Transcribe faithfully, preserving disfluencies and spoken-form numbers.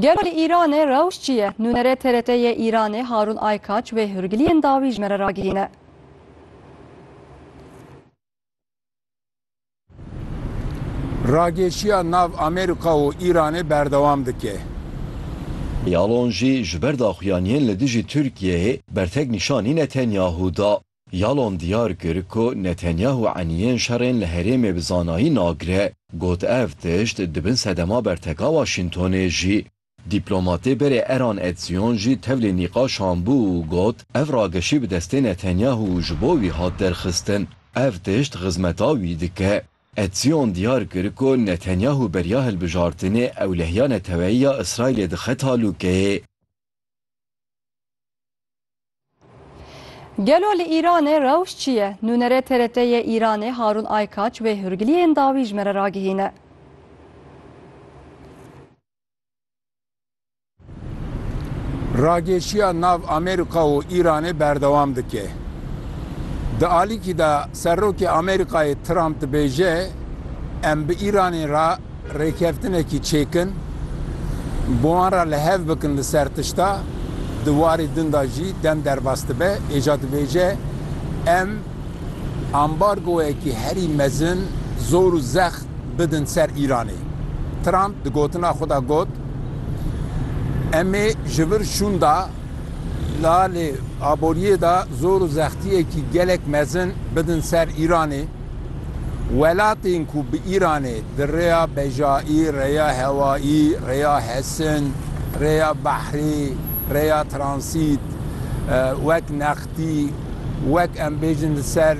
Gelo li Îranê rewş çi ye? Nûnerê T R T yê Îranê Harûn Aykaç wê hûrgiliyên dawî ji me re ragihîne. Rageşiya nav Amerîka û Îranê berdewam dike. Yalon jî ji ber daxuyaniyên li dijî Tirkiyeyê bertek nîşanî Netanyahu da. Yalon diyar kir ku Netanyahu eniyên şerên li herêmê bi zanayî nagire. Got, ev tişt di bin sedema berteka Washingtonê jî. Dîplomatê berê Eran Etzion jî tevlî nîqaşan bû û got, ev rageşî bi destê Netanyahu ji bo wî hat derxistin. Ev tişt xizmeta wî dike. Etzion diyar kir ku Netanyahu beriya hilbijartinê ewlehiya neteweyî ya Îsraîlê dixe talûkeyê. Gelo li Îranê rewş çi ye? Nûnerê T R T yê Îranê Harûn Aykaç wê hûrgiliyên dawî ji me re ragihîne. Rageşiya nav Amerîka û Îranê berdewam dike. Di alîkî de Serokê Amerîkayê Trump dibêje, em bi Îranê re rêkeftinekî çêkin, bi wan re li hev bikin li ser tişta, di warê din de jî dem derbas dibe, êca dibêje, em ambargoyekî herî mezin, zor û zext bidin ser Îranê. Trump di gotina xwe de got, em ê ji vir şûnda li alê aboriyê de zor û zextiyekî gelek mezin bidin ser Îranê. Welatên ku bi Îranê di rêya bejayî, rêya hewayî, rêya hesin, rêya behrê, rêya transît, e, wek nextî, wek em bêjin li ser